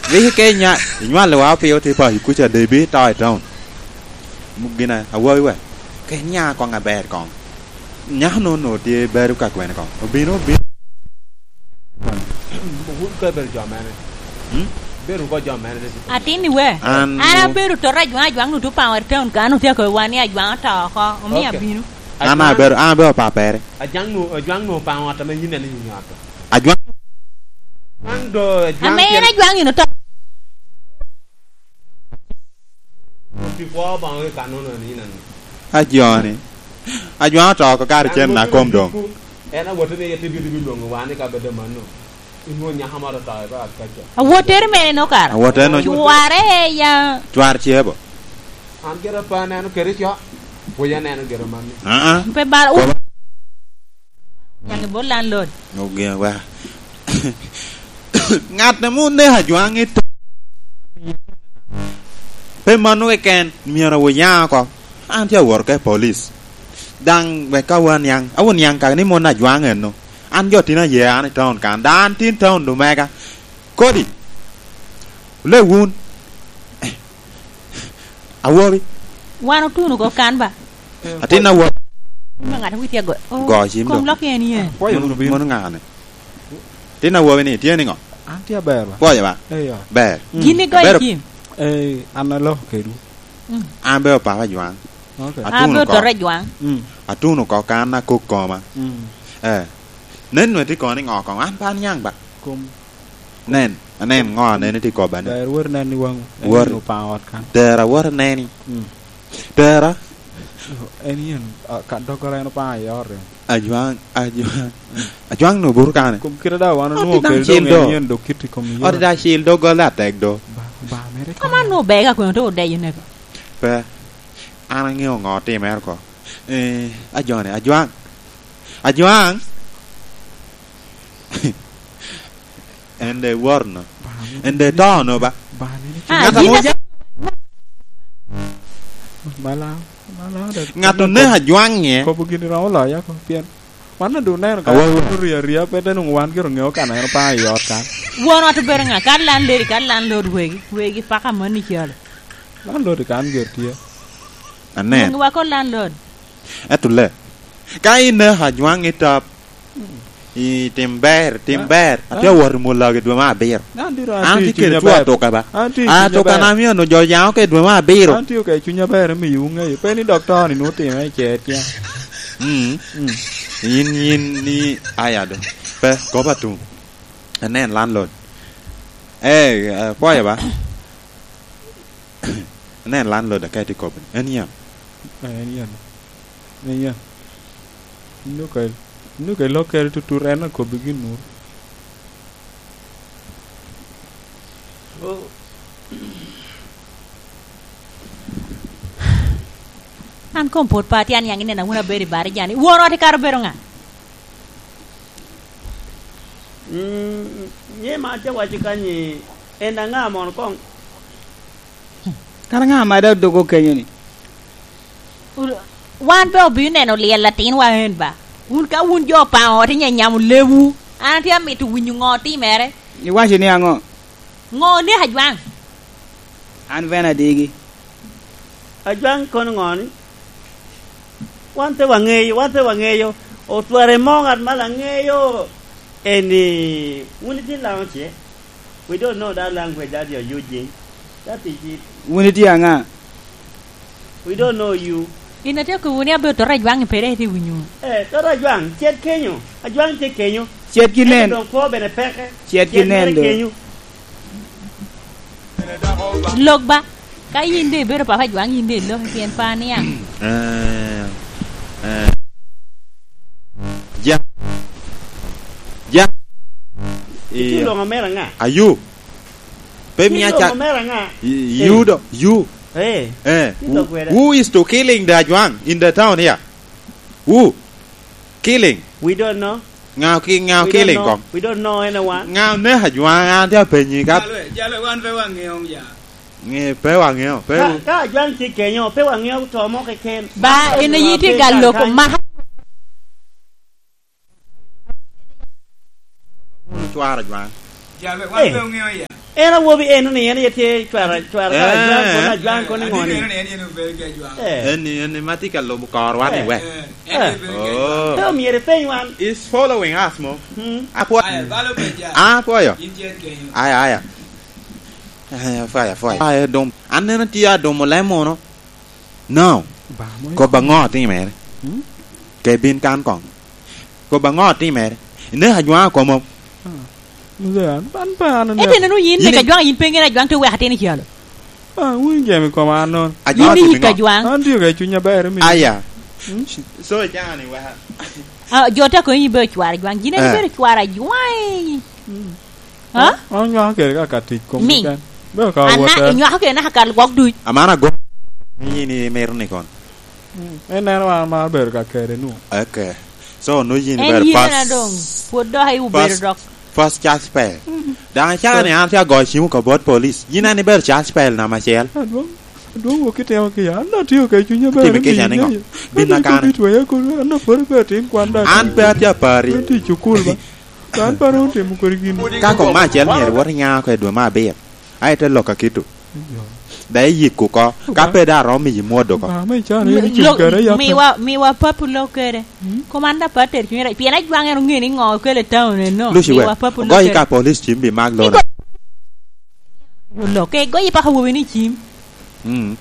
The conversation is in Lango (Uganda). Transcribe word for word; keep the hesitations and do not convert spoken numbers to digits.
Rik i Kenya, inywalowa opio tye pa i kuca, de bi to i town. Gin a-, awobi we. Kenya koŋ aber koŋ. Nyako-nu onwoŋo tye bedo ka kwene koŋ. Obino, obino. Wun ka ibedo jo mene? Hmm? Ibedo woko jo mene, ni? Atin i we. An An wo- abedo tota Ajwaŋ, Ajwaŋ-nu tye Paŋo i town kan, otye akobo wan ni Ajwaŋ oto oko, omio Ok. abino. An Ajwaŋ- abedo, an abedo papere. Ajwaŋ-nu, Ajwaŋ-nu Paŋo ot ame yin en inyinyo ot. Ajwaŋ. Ajwaŋ do, Ajwaŋ Ame en tyen- Ajwaŋ ino to. Pi kwo Obaŋa i kannono ni nani? Ajoni. Ajwaŋ oto oko kare cen na kom doŋ. En awotte ni ete bito bilwoŋo wan i kabedo mano. Inwoŋo nyaka moro oto i baka kaca. Awottere mere no kara. Awottere no. Cware ya. Cwar cebo. An gire pe aneno kede co. Pwod aneno gire mano. Ah, ah. Pe bal. Koba. Nyaŋ i bot landlord. Ogen wa. Ŋat ame oneko Ajwaŋ i to-, pe mano keken, myero wuyaŋ oko. An tye awot oko i police. Daŋ wek ka waniaŋ, awuniaŋ kaka ni mon Ajwaŋ eno. An jo tin aye an i town kan. Daŋ an tin town lumega. Kodi. Ole wun. Awobi. Wan otuno oko kan ba? Atin awobi. Ma ŋat a witye ago-, oh, Go cim kom do. Lok en yen. Pwoyo wunu bino. Mon ŋane? Tin awobi ni, tye niŋo? An tye aber ba. Pwoyo ba? Eyo. Ber. Mm. Gin igoyo Ber. Cim? Eh, an aloko kedwu. Mm. An be opapa Jwaŋ. Ok. Atuno An be oko. Otore Jwaŋ. Mm. Atuno oko kan akok koma. Mm. Eh. Nen nwe tye kono niŋo koŋ? An pe aniaŋ ba. Kom. Nen, anen ŋo aneni tye kobba ni. Ber wot inen i waŋu. Wot. En Obaŋa ot kan. Tera wot ineni. Mm. Tera. En yen, ah, ka doggola en Obaŋa i ot en. Ajwaŋ, Ajwaŋ. Mm. Ajwaŋ no buru kane. Kom kite da wan Ot onwoŋo da kede cil doŋ do. En yen dok kit i kom iyee. Ot da cil doggola atek do. Ba, ba, mere Koma kone. Nwoŋo bega kweno to odeyo nega. Pe. An aŋeo ŋo otimere oko. Eh, Ajoni, Ajwaŋ. Ajwaŋ. En de wot no. Ba, En de to no ba. Ba, ne ni Ah, Ŋat amo yin ja- Mala, mala da. Ŋat oneko Ajwaŋ nye. Kobo gini romo loya ko, pien wan ondu neno ka Awa, awa. Orio aria, pe te nwoŋo wan gire oŋeo kan en Obaŋa i ot kan. Won ot obedo ŋa? Kan landlady, kan landlord wegi, wegi paka moni calo. Landlord kan gire tye. Anen. Wegi wako landlord. Ento le, ka ineko Ajwaŋ i top, i tim ber, tim Ah, ber. Ah. Atye awot i Mulago i dwe me abiro. An diro An atye tye i kede cuny two aber. Atuka ba. An tye i An cuny atuka aber. Na mio onongo jo yaŋ oko i dwe me abiro. An tye ka i cuny aber, imiyo wuŋeyo. Pe ni doktor ni nwoŋo time i cer tyen. Mm. Mm. Yin, yin ni aya do. Pe, kop atum. Anen landlord. Eh, eh, pwoyo ba. Anen landlord aka itye kobbe ni. En yan. Eh, en yan. En yan. Nuka, nuka ilokkere tutut, en akobbi gin nur. Oh. An kom pwod pe atye aniaŋ inena wun abedo i bari jani. Won ot ikato bedo ŋa? Mm, nye ma atye waco kanyi, en aŋa mono koŋ? Kara ŋa ma dok dogo kenyo ni? Wan pe obino neno lyel atinwa en ba? Wun ka wun jo Paŋo ot inyanyamo lebwu, an atye amito winyo ŋo otimere. Iwaco ni aŋo? Ŋo oneko Ajwaŋ? An bene adigi. Ajwaŋ kono ŋo ni? Wan pe waŋeyo, wan pe waŋeyo. Otware mo ŋat ma laŋeyo. Eni, wun itye Laŋo ce? We don't know that language that you're using. That is it. Wun itye aŋa? We don't know you. In atye kobbi ni abedo tota Ajwaŋ i pere itye winyo. Eh, tota Ajwaŋ, cet kenyo. Ajwaŋ tye kenyo. Cet ki nen. Ento doŋ kwo bene peke. Cet ki Cet nen mere do. Kenyo. Lok ba, ka yin de ibedo papa Ajwaŋ, yin de ilok i tyen pa niaŋ. Eh, eh. Ja. Ja. Ituno ŋo mere ŋa? Ayu. Pe mia Ituno ca-, ŋo mere ŋa? Y-, you do, you. Eh. Eh. Ituno Who, kweda. Who is to killing the Ajwaŋ in the town here? Who? Killing. We don't know. Ŋa ki-, ŋa We don't killing know. Kong? We don't know anyone. Ŋa oneko Ajwaŋ? An tye apenyi ka. Jalwe, jalwe, wan pe waŋeo ya. Ŋe, pe waŋeo, pe Ka, ka Ajwaŋ tye kenyo, pe waŋeo to mo keken. Ba, en aye tye ka loko maka. Wun cwaro Ajwaŋ. Jalwe, wan Eh. Pe waŋeo ya. En awobi eno ni en aye tye cwara, cwara ka ajwaŋ kono, ajwaŋ kono i ŋo ni? Eno ni en yen obedo ki ajwaŋ. Eh. En ni, en ni ma tye ka lubo korwa ni wek. Eh, en aye bedo ki ajwaŋ. Oh. Pe omyero ipeny wan. Is following us mo. Hmm. Apwo-, aya, balo pe ja. Ah, apwoyo. In tye kenyo. Aya, aya. Aya, fire, fire. Aya, dum. An neno tye adumo lem mono. No. Ba, mo. Kop aŋo otimere? Hmm? Ke bin kan koŋ. Kop aŋo otimere? Ineko ajwaŋ akomo. Ah. Mzee, an, an pe an aneko. Ete neno yin nek ajwaŋ, yin pe ŋen ajwaŋ te wek atin i calo. Ah, wun jami koma an nono. Ajwaŋ yin otimo iyik ŋo? Ajwaŋ. An tye ka i cuny aber, omiyo. Aya. Hmm? So, icano ni weka. Ah, jo te konyi ibedo cwar ajwaŋ. Yin en ibedo cwar ajwaŋ. Hmm. Ha? An nywako kede ka, ka tic kom keken. Bedo ka wot. Ana, inywako kede naka ka lwok duc. Amana go. Yin imito ni kon. Mm. En neno wan mar bedo ka kede nu. Okay. So, no yin en ibedo yin first, na dong. Pwod dok i obedo first, dok. First church pe. Mm. Dang acaka ni an tye agoyo cim oko bot police. Yin an ibedo church pe namba acel. Adwong, adwong wok itemo ki an na tio ke cunya ber. Atimo kica ni ŋo? Bin na kane. An na pwod pe atim kwan da. An pe atye apari. An tye i cukul ba. Kan pe rom timo kodi gin. Ka kong me acel myero iwot inya oko i dwe me abiro, a ite lok akito. Daŋ iyik oko, ka pe daŋ arom miyi mwod oko. Ba, me ican, lo-, miwa, miwa papo lok kede. Hmm? Komanda pa ter cuny rac. Pien ajwaŋ en oŋeo ni ŋo okele taun eno. Luci wek, miwa papo lok ogoyi kede. Ka police cim bi mak lona. Lok, ke goyi paka wobi ni cim. Hmm.